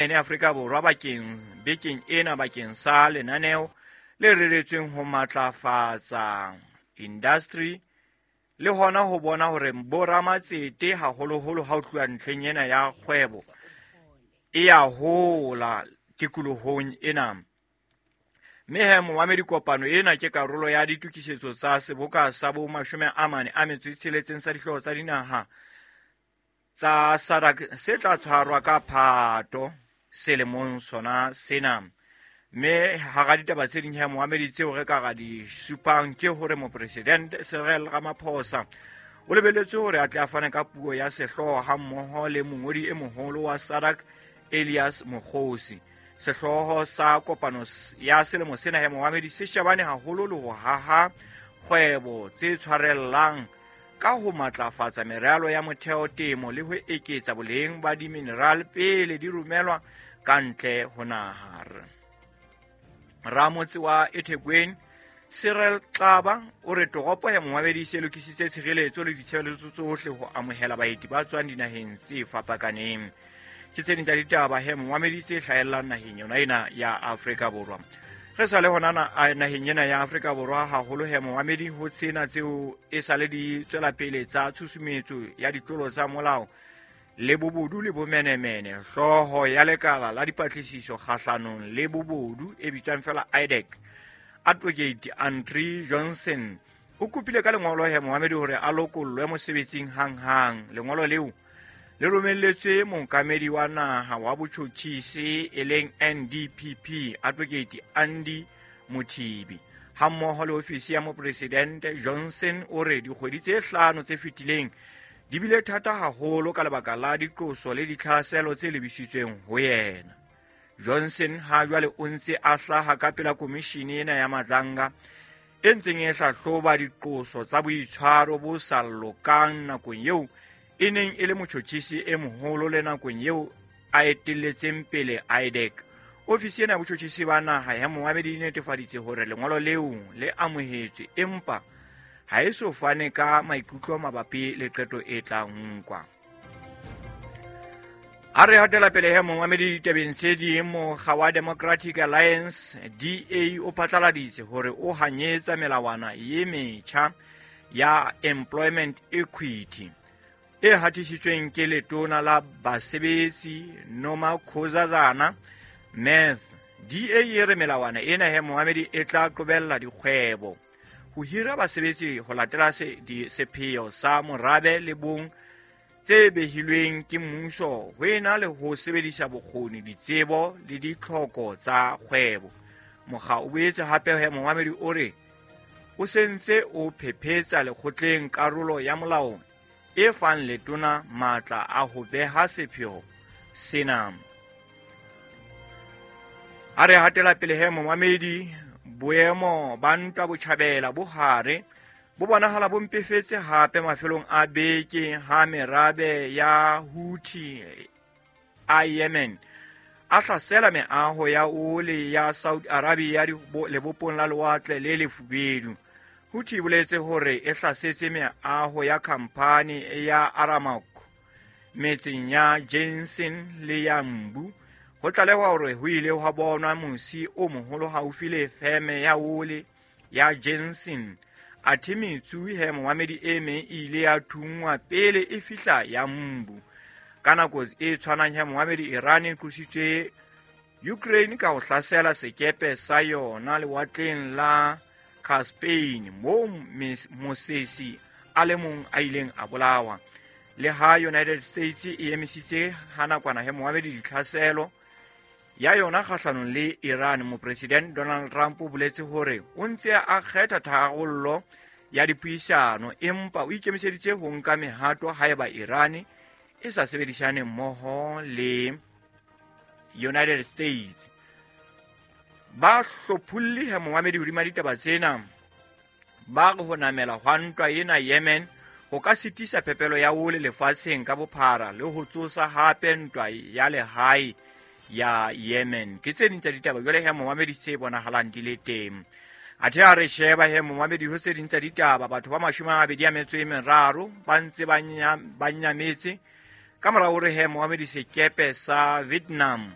Ene Afrika Borwa bakeng bekeng ena bakeng sa lenaneo le reretsweng ho matlafatsa industry le hona ho bona hore boramatsete haholoholo ha ho tluwa ntlheng ena ya kgwebo e ya hola tikolohong ena. Mme he momamedi, kopano ena ke karolo ya ditokisetso tsa seboka sa bo 46 sa dihlooho tsa dinaha tsa SADC se tla tshwarwa ka Phato selemong sona sena. Mme hara ditaba tse ding he momamedi tseo re ka ra di supang ke hore Mopresidente Cyril Ramaphosa o lebeletswe hore a tle a fane ka puo ya sehlooho hammoho le mongodi e moholo wa SADC Elias Mokgosi. Sehlooho sa kopano ya selemo sena he momamedi se shebane haholo le ho haha kgwebo tse tshwarellang ka ho matlafatsa meralo ya motheo, temo le ho eketsa boleng ba dimineral pele di romelwa ka ntle ho naha. Ramotse wa eThekwini Cyril Xaba o re toropo ya momamedi se lokisitse tshireletso le ditshebeletso tsohle ho amohela baeti ba tswang dinaheng tse fapakaneng. Ke tse ding tsa ditaba he momamedi tse hlahellang naheng yona ena ya Afrika Borwa. Re sa le hona naheng ena ya Afrika Borwa haholo he momamedi ho tsena tseo e sale di tswela pele tsa tshusumetso ya ditlolo tsa molao le bobodu le bomenemene. Hlooho ya lekala la dipatlisiso kgahlanong le bobodu e bitswang fela IDAC, Advocate Andre Johnson, o kopile ka lengolo he momamedi hore a lokollwe mosebetsing hang-hang. Lengolo leo le romelletswe mookamedi wa naha wa botjhotjhisi e leng NDPP Advocate Andy Mothibi hammoho le ofisi ya mopresidente. Johnson o re dikgwedi tse 5 tse fetileng di bile thata haholo ka lebaka la diqoso le ditlhaselo tse lebisitsweng ho yena. Johnson ha jwale o ntse a hlaha ka pela komishini ena ya Madlanga e ntseng e hlahloba diqoso tsa boitshwaro bo sa lokang nakong eo e neng e le motjhotjhisi e moholo le nakong eo a etelletseng pele IDAC. Ofisi ena ya botjhotjhisi ba naha ya momamedi e netefaditse hore lengolo leo le amohetswe, empa ha e so fane ka maikutlo mabapi le qeto e tla nkwa. A re hatela pele he momamedi ditabeng tse ding, mokga wa Democratic Alliance DA o phatlaladitse hore o hanyetsa melawana ye metjha ya employment equity e hatisitsweng ke letona la basebetsi Nomakhosazana Meth. DA e re melawana ena he momamedi e tla qobella dikgwebo ho hira basebetsi ho latela sepheo sa morabe le bong tse behilweng ke mmuso ho ena le ho sebedisa bokgoni, ditsebo le ditlhoko tsa kgwebo. Mokga o boetse hape he momamedi o re o sentse o phephetsa lekgotleng karolo ya molao e fang letona matla a ho beha sepheo sena. A re hatela pele he momamedi, boemo ba ntwa botjhabela bo hare bo bonahala bo mpefetse hape mafelong a beke ha merabe ya Houthi a Yemen a hlasela meaho ya ole ya Saudi Arabia lebopong la lewatle le lefubedu. Houthi e boletse hore e hlasetse meaho ya khamphani ya Aramco metseng ya Jensen le ya Mbu. Ho tlalehwa hore ho ile hwa bonwa mosi o moholo haufi le feme ya ole ya Jensen. Athe metsu he momamedi e meng e ile ya thunngwa pele e fihla ya Mbu. Ka nako e tshwanang he momamedi, Iran e qositswe Ukraine ka ho hlasela sekepe sa yona lewatleng la Caspian moo mosesi a le mong a ileng a bolawa. Le ha United States e emisitse ha nakwana he momamedi ditlhaselo ya yona kgahlanong le Iran, Mopresidente Donald Trump o boletse hore o ntse a kgetha tharollo ya dipuisano, empa o ikemiseditse ho nka mehato haeba Iran e sa sebedisane mmoho le United States. Ba hlopholli he momamedi hodima ditaba tsena ba re ho namela hwa ntwa ena Yemen ho ka sitisa phepelo ya ole lefatsheng ka bophara le ho tsosa hape ntwa ya lehae ya Yemen. Ke tse ding tsa ditaba jwale he momamedi tse bonahalang di le teng. Athe a re sheba he momamedi ho tse ding tsa ditaba, batho ba 23 ba ntse ba nyametse ka mora hore he momamedi sekepe sa Vietnam